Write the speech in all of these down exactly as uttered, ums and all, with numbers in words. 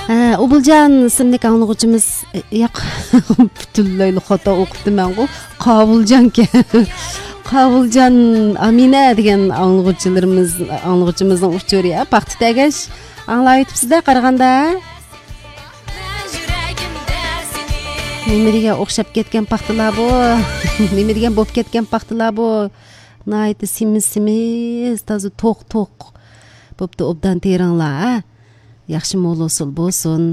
ھە، ئوبۇلجان ئىسىملىك ئاڭلىغۇچىمىز، ياق، پۈتۈنلەيلا خاتا ئوقۇپتىمەنغۇ. قاۋۇلجانكەن. قاۋۇلجان ئامىنە دېگەن ئاڭلىغۇچىلىرىمىز، ئاڭلىغۇچىمىزنىڭ ئۇچۇرى، ھە، پاختا تەگەش ئاڭلاۋېتىپسىز-دە قارىغاندا. نېمە دېگەن ئوخشاپ كەتكەن پاختىلار بۇ؟ نېمە دېگەن بوپ كەتكەن پاختىلار بۇ؟ ناھايىتى سېمىز-سېمىز، تازا توق-توق بوپتۇ، ئوبدان تېرىڭلار، ھە؟ ياخشى مول ھوسۇل بولسۇن.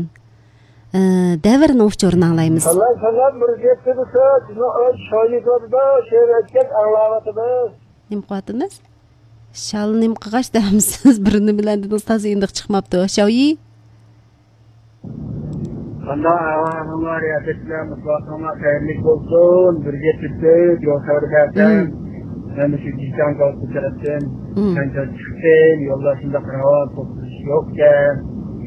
ئە، دەۋرنىڭ ئۇچۇرىنى ئاڭلايمىز. سالام، سالام، بىر گەپ دېسە، بىزنىڭ ئۆز شايىدىمىزدا شېئىر ئېيتكەن ئاڭلاۋاتىمىز. نېمە قىلىۋاتىمىز؟ شال نېمە قىلغاچ دەمسىز؟ بىر نېمە بىلەن دېدىڭىز، تازا ئېنىق چىقماپتۇ. شاۋيى؟ قانداق ئەھۋالىڭلار، ياپەتلەر، مۇسابىقىڭلار خەيرلىك بولسۇن. بىر گەپ دېسە، يول خەۋىرى بەرسەم، مم. مەن مۇشۇ جىشان كالتى تەرەپتىن مم. چاڭچاڭ چىقتىم. يولدا شۇنداق راۋان توختىلىش يوقكەن.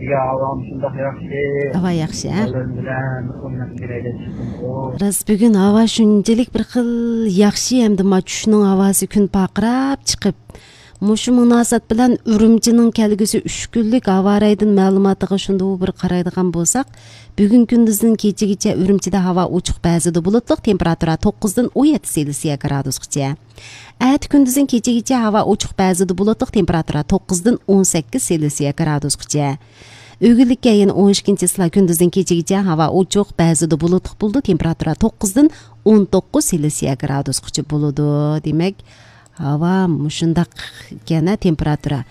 يا، ھاۋام شۇنداق ياخشى. ھاۋا ياخشى، ھە؟ بالىلىرىم بىلەن ئويناپ كېرەي دەپ چىقتىمغۇ. راست، بۈگۈن ھاۋا شۇنچىلىك بىر خىل ياخشى، ھەمدە ما چۈشنىڭ ھاۋاسى كۈن پارقىراپ چىقىپ، مۇشۇ مۇناسىۋەت بىلەن ئۈرۈمچىنىڭ كەلگۈسى ئۈچ كۈنلۈك ھاۋا رايىدىن مەلۇماتىغا شۇندىۋۇ بىر قارايدىغان بولساق، بۈگۈن كۈندۈزدىن كېچىگىچە ئۈرۈمچىدە ھاۋا ئوچۇق، بەزىدە بۇلۇتلۇق، تېمپېراتۇرا توققۇزدىن ئون يەتتە سېلسىيە گرادۇسقىچە. ئەتە كۈندۈزدىن كېچىگىچە ھاۋا ئوچۇق، بەزىدە بۇلۇتلۇق، تېمپېراتۇرا توققۇزدىن ئون سەككىز سېلسىيە گرادۇسقىچە. ئۆگۈنلۈككە يەنە ئون ئىككىنچى چىسلا كۈندۈزدىن كېچىگىچە ھاۋا ئوچۇق، بەزىدە بۇلۇتلۇق بولىدۇ، تېمپېراتۇرا توققۇزدىن ئون توققۇز سېلسىيە گرادۇسقىچە بولىدۇ. دېمەك، ھاۋا مۇشۇنداق ئىكەن، ھە، تېمپېراتۇرا.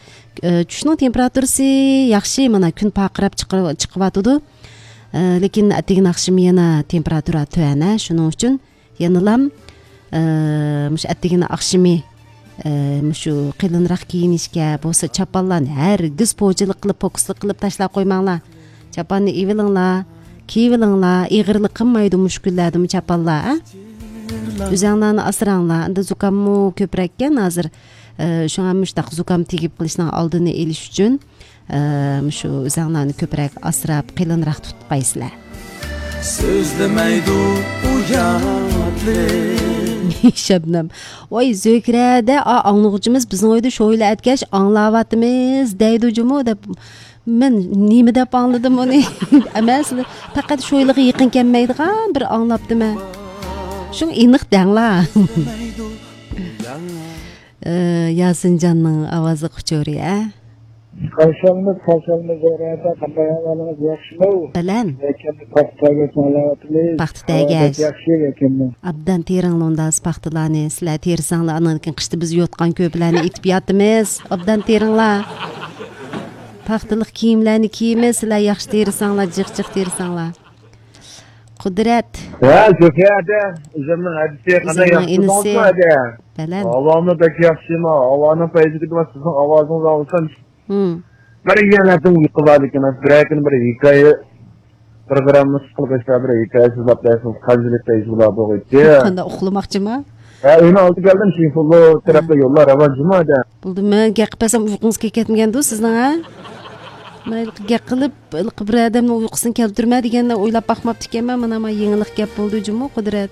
ئە، چۈشنىڭ تېمپېراتۇرىسى ياخشى، مانا كۈن پارقىراپ چىقىۋاتىدۇ. ئە، لېكىن ئەتىگىن ئاخشىمى يەنە تېمپېراتۇرا تۆۋەن، ھە، شۇنىڭ ئۈچۈن يەنىلام، ئە، مۇشۇ ئەتىگىنى ئاخشىمى، ئە، مۇشۇ قېلىنراق كىيىنىشكە، بولسا چاپانلارنى ھەرگىز پوچىلىق قىلىپ، پوكۇسلۇق قىلىپ تاشلاپ قويماڭلار. چاپاننى ئېۋىلىڭلار، كىيىۋېلىڭلار، ئېغىرلىق قىلمايدۇ مۇشۇ كۈنلەردىمۇ چاپانلار، ئە؟ ئۆزەڭلارنى ئاسراڭلار، ئەمدى زۇكاممۇ كۆپرەككەن ھازىر، ئە، شۇڭا مۇشۇنداق زۇكام تېگىپ قېلىشنىڭ ئالدىنى ئېلىش ئۈچۈن، ئە، مۇشۇ ئۆزەڭلارنى كۆپرەك ئاسراپ، قېلىنراق تۇتۇپ قويىسىلەر. سۆزلىمەيدۇ ئۇياتلىق. شەبنەم، ۋاي زۆھرەدە، ئا، ئاڭلىغۇچىمىز بىزنىڭ ئۆيدە شويلا ئەتكەچ ئاڭلاۋاتىمىز دەيدۇ جۇمۇ دەپ. مەن نېمە دەپ ئاڭلىدىم ئۇنى؟ ئەمەس، پەقەت شۇ يىلىغا يېقىن كەلمەيدىغان بىر ئاڭلاپتىمەن. شۇڭا ئېنىق دەڭلار. ئى، ياسىنجاننىڭ ئاۋازلىق ئۇچۇرى، ئە؟ خۇش كەلدىڭىز، خۇش كەلدىڭىز، زۆھرەدە. قانداق ئەھۋالىڭىز، ياخشىمۇ؟ بەلەن. يەكەننى پاختا تەگەش ئاڭلاۋاتىمىز. پاختا تەگەش. ھاۋا بەك ياخشى يەكەندە. ئابدان تېرىڭلار ئۇنداق پاختىلارنى. سىلەر تېرىساڭلار، ئاندىن كېيىن قىشتا بىز يوتقان كۆرپىلەرنى ئېتىپ ياتىمىز. ئابدان تېرىڭلار. پاختىلىق كىيىملەرنى كىيىمىز، سىلەر ياخشى تېرىساڭلار، جىق جىق تېرىساڭلار. قۇدرەت. ھە، زۆھرە ئەدە، ئۆزۈمنىڭ ھەدىسى، قانداق، ئۆزۈمنىڭ ياخشى ئىنىسى. تۇردۇڭىزمۇ ئەدە؟ بەلەن. ھاۋامۇ بەك ياخشىما، ھاۋانىڭ پەيزىگە دېمە، سىزنىڭ ئاۋازىڭىزنى ئاڭلىسام، مم. بىر يەنە ئۇيقۇ بار لېكىن، بىرەر كۈنى بىر ھېكايە پروگراممىسى قىلغاچقا بىر ھېكايە سۆزلەپ بەرسىڭىز، قانچىلىك پەيزى بولا بولغىيتتى. قانداق ئۇخلىماقچىما؟ ھە، ئۆينىڭ ئالدىغا كەلدىم، شىنفۇللو تەرەپلەر يوللار راۋان جۇما ئەدە. بولدى، مەن گەپ قىلسام ئۇيقۇڭىز كېلىپ كەتمىگەندۇ سىزنىڭ، ھە؟ مەن ھېلىقى گەپ قىلىپ، ھېلىقى بىر ئادەمنىڭ ئۇيقۇسىنى كەلتۈرمە دېگەندە ئويلاپ باقماپتىكەنمەن، مانا، مانا يېڭىلىق گەپ بولدى جۇمۇ، قۇدرەت.